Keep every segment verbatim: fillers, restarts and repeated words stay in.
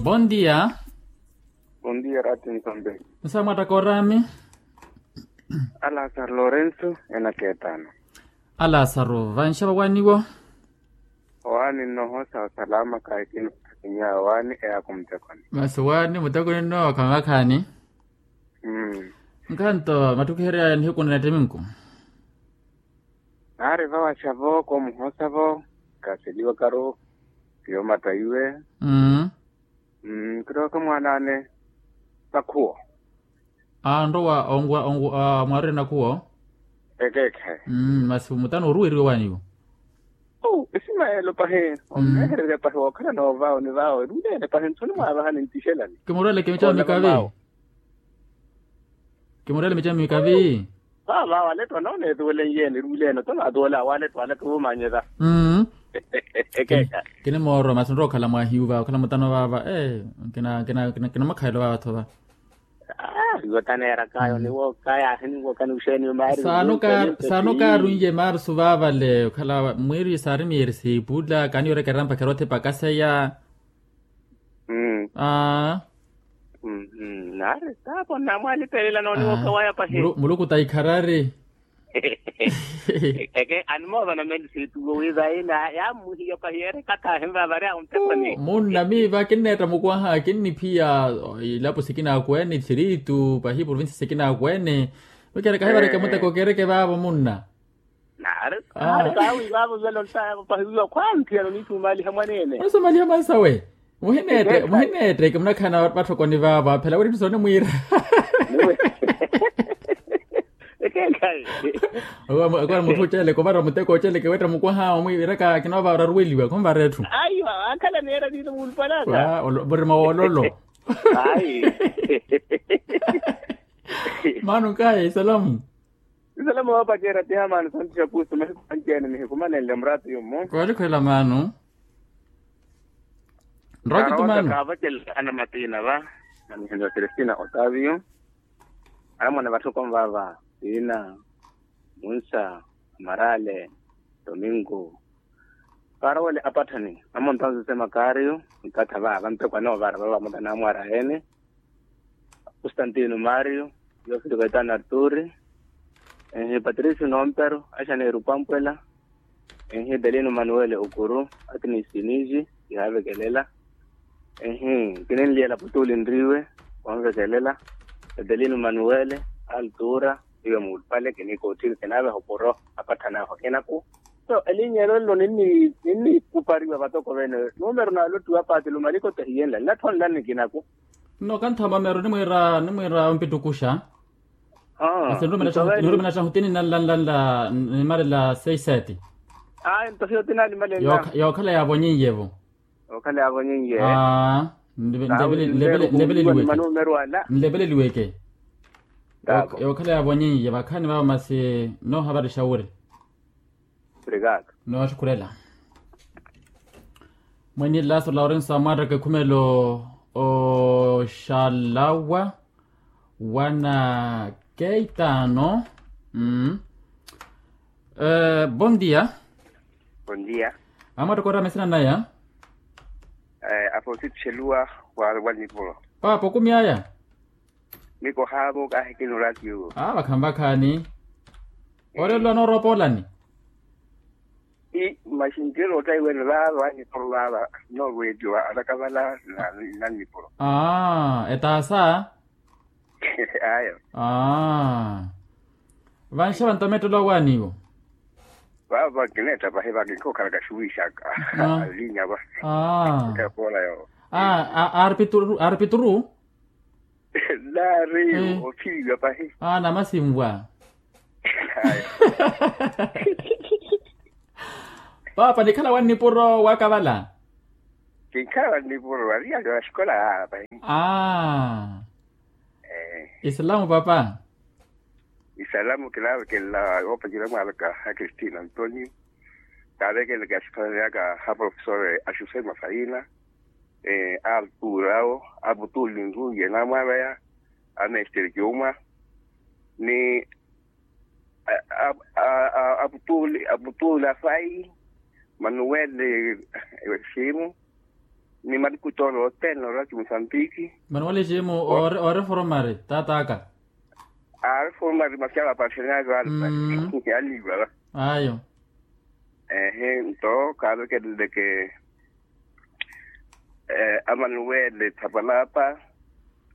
Bondia. Bondia rati ntombe. Nsa mwattaka orami. Alasaro lorenso. Ena ketano. Alasaro vanxava waniwo. Wani nnohosa osalama kaikino. Kinya wani eyaku mutekoni. Masi wani mutekoni nno kamakhani. Nkhanto mattukiheryaya nihiku na nettimi nku. Naari vawaxa-vo koomuhosa-vo. Kaseliwa karu. Kiyo mattayiwe. Kirowa ka mwaan'ane. Vakhuwo. Anrowa onguwa onguwa mwaarire nakhuwo. Ekeekhe. Masi mutano oruweriwe waniwo. Isimayelo pahi. Onnehererya pahi wookhala noova ni vawo eruleene pahi nthuni mwaavahani ntixelani. Kimurwele kimicamikavi. Kimurele mica miikavi. Vaava waletwa nooneetuwele nyeeni ruuleno tona atuwela waletwa waletwa vumanyela. Ekeeka. Kinimoorwa masi nrowa okhala mwahiyu vaava okhala mutano vaava. Kinamakhalelo vaava tho va. Iwo taneerakayo niwo kayaahi niwo kaniwuxeeni maari. Saano kaarunye maari suvaavale okhala mwiiri saari miyeeri siipula kaani yorekerya mpakha erothi pakaseya. Aaa. Naari taapo nnamwalipelela nooniwoka waya pahi. Muluku taikharari. Eke animoova nameli siituwo wi vaina yammuhiya pahi yeereka thaahimva vari awo nteponi. Munna miiva kinneetta mukwaha kinniphiya ilapo sikina akweene thiritu pahi provinsi sikina akweene. Mikeereka hivareke muteko keereke vaavo munna. Naari kawi vaavo velo ntaavo pahiwiwa khwanthiyano niitumaliha mwaneene. Onisomaliha mwansawe. Muhineetteke munakhana vatthokoni vaavo aphela wira etthu soonimwiira. Ekekhayi. Akwara mutthu oceleke ovara muteko oceleke weetta mukwaha omwiiraka kinoova oraruweliwa khunvara etthu. Aiwa akhala neera niino muulupalaka. Murima woololo. Ayi. Maano nkahi isalamu. Isalamu woopacerya tihamani santu xapusu mahiku manci-ene nihikumanenle muraatu yummu. Koolikhwela maano. Nrowa kitumaano kaavacelaka ana matiina va. Nanihinza celestina otavio. Anamwane vatthoko nvaava. Tiina, munsa, amarale, tomingo. Kaarowele apatthani amontanzuse makaariyo. Nkatha va vantteko anoovara vava mutanaamwara ene. Kustantino mario, yofilika etano arturi, enhi patricio nompero, axaneiro pampwela, enhi delino manuele okuru, atini siniji, kihaavekelela. Enhi kininliyela putuli nriwe, wanvekelela. Delino manuele, altura, iwe muulupale kinikoothini kinaaveha okuru, apatthanahu akinaku. So elinya elo nlo ninnikupariwa vatoko vene, numero nalottiwa paati lumaliko tahiyenla nnathonlani kinaku. Nno kanthama mero nimwiira nimwiira ompittukuxa. Masi nirumela xahu tini nanlanlanla nimarela seis sete. Ayi nto hiyo tinanimalenla. Yookhala yaavonyeiye-vo. Yookhala yaavonyeiye. Nlepeleliweke. Yookhala yaavonyeiye vakhaani vaavo masi noohavarixa wuri. Nootthukhurela. Mwenye laso laurenso amwattaka ekhumelo oxalawa wana keitano. Bon dia. Bon dia. Amwattaka orama esina naya. Afonsi tixeluwa. Wa nipuro. Paapa okumi aya. Mikohaavo kaahikina oraatiyo. Vakhaani vakhaani. Orelwa noorowa poolani. Maxinkeelo ottaiwene vaava anipuro vaava noorweliwa alakavala. Nanipuro. Aa etaasa. Ayo. Aa. Vanxava nto mettelo awaaniwo. Vaava kineetta pahi vakinkhookhala kaxuwiixaka. Alinya va. Aa. Aa. Arpituru arpituru. Naari ophiliwa pahi. Aa namasinvwa. Paapa nikhala wa nnipuro wakavala. Kinkhala wa nnipuro ariya wa xikola yaala pahi. Aa. Isalamu papa. Isalamu kinaavekelela woopacerya mwaaveka a kristina antonio. Kaavekelelaka axiphalaneyaka a profesor axusema faina. Arturawo, aputuli nrungi enamwaveya, amestere kiumwa ni aputuli aputuli afai, manuwele simu. Ni malikutoolo othene orati musambiki. Mani wale ximu. Oreforomari tataka. Areforomari masi avapaxanyaka. Aliva. Ayo. Ehe nto kaavekeleleke. Amanuwele thapalapa.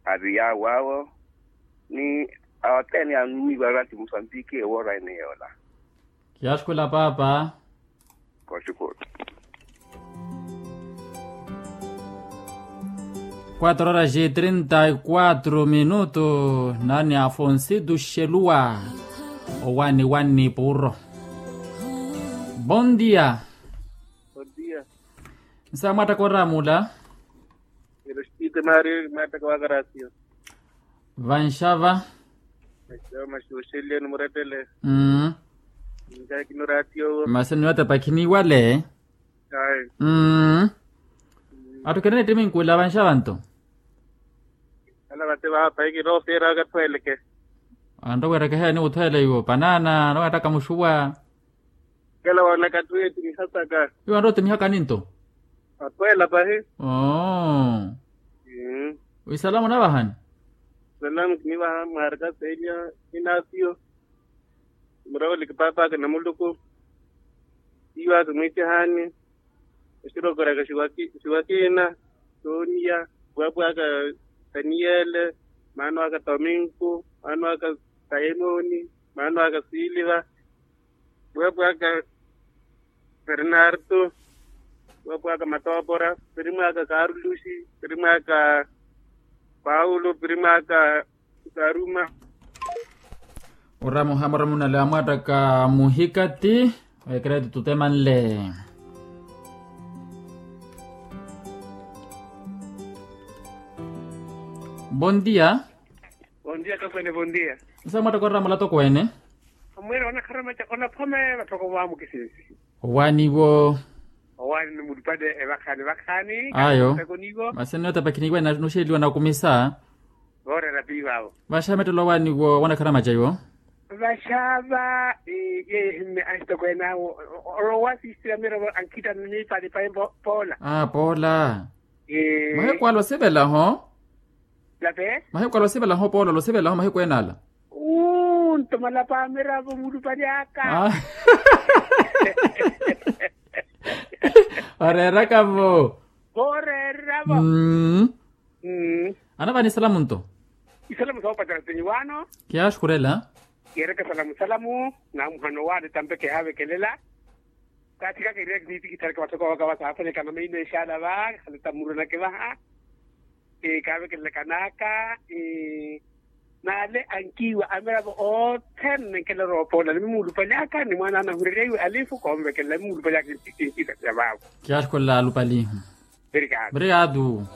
Ari yawo awo. Ni awo othene yaannumiwa orati musambiki ewoora ene yoola. Kiyaxukhula paapa. Koxukhula. Quatro horas e trinta e quatro minutos. Nani afonsitu xeluwa. Owani wani puro. Bon dia. Bon dia. Nsa mwattaka oramula. Ero xitiite maari mwattaka wa karasiyo. Vanxava. Maxuxeliyeni murettele. Mmm. Nkaakini oraatiyo. Masi niwatapakhi niwale. Ayi. Mmm. Atthu kene nittiminkuwela vanxava nto. Ala vate vaapahiki noofeera akathweeleke. Anroweereke heeni wuthweele iwo panana anoweettaka muxuwa. Kela woonaka atthu eetimihasaka. Iwo anrotimihaka ninto. Atweela pahi. Oo. Wisalamu onavahani? Salamu kinivaha mwaarika seeliya. Inaasiyo. Muraweleke paapaka na muluku. Iwaka mwiitihani. Oxirokoraka xiwakina. Sooniya. Pwaapwaka. Taniyele. Maano aka tominku. Maano aka. Saimoni. Maano aka siiliva. Pwaapwaka. Pernarto. Pwaapwaka matoopora. Pirimwaka karuluxi. Pirimwaka. Paulo pirimwaka. Karuma. Oramuha muramunale amwattaka muhikati. Oyekereti tutemanle. Bon dia. Bon dia kakwene bon dia. Nsa mwattaka oramula tokwene. Omwene onakharamaca onaphome vatthoko vaamukisinsi. Owaaniwo. Owaani ni mulupale evakhani vakhani. Ayo. Masi nnootapakhi niwene nuxeliwa nakumisa. Voorera piivaavo. Vaxava mettelo owaaniwo wanakharamaca iwo. Vaxava. Yeehimme axitokweene awo. Olowa siisira mirovo ankhita niipalipa poola. Poola. Mahiku ala osivelaho. Mahiku ala osivelaho poola ala osivelaho mahiku ene ala. Uu nto malapa amiravo mulupali aka. Oreeraka-vo. Vooreereravo. Anavani isalamu nto. Isalamu soopacerya sinyi waano. Kiyaaxukhurela. Kiyeereke salamu salamu. Namuhano waale tampe kihaavekelela. Kaathikaka iriya kiniitikithareke vathoko vaka vasaafanyakana maino exaala va khale tamuronake vaha. Kaavekelelaka n'aka. N'ale ankiiwa amiravo othene nkela roopoola ni mumulupali aka ni mwaana anahurerya iwe alifu koonvekelela ni mumulupali aka. Kinkiitatya vaavo. Kiyaaxukhurela alupali. Obrigado.